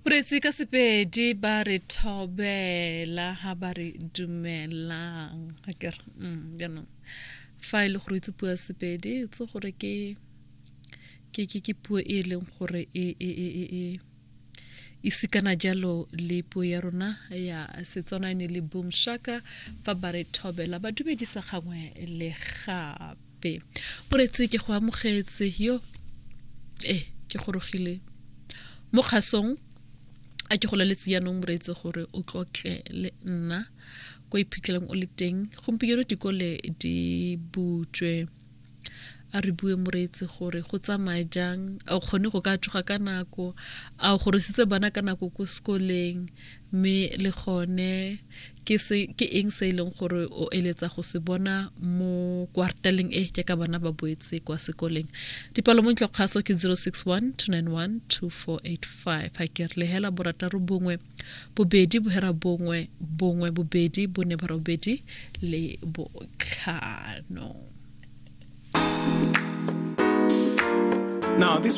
Moreetsi ka Sepedi ba re thobela ha ba re dumelang akere jaanong fa e le gore itse puo ya Sepedi itse gore ke ke ke ke puo e e leng gore e e e e e e sikana jalo le puo ya rona ya Setswana e ne le Boom Shaka fa ba re thobela ba dumedisa gangwe le gape. Moreetsi ke go amogetse yo e ke gorogile mo kgasong a ke go laletse jaanong moreetsi gore o tlotle le nna ko iphitlhelang o le teng gompieno dikole di butswe. A re bue moreetsi gore go tsamaya jang, a o kgone go ka tsoga ka nako, a o gorositse bana ka nako ko sekoleng, mme le gone ke se ke eng se e leng gore o eletsa go se bona mo kwarteleng e jaaka bana ba boetse kwa sekoleng. Dipalo mo ntlo kgaso ke 061 291 2485 ga ke re lehela borataro bongwe bobedi bohera bongwe bongwe bobedi bone borobedi le botlhano. Now, this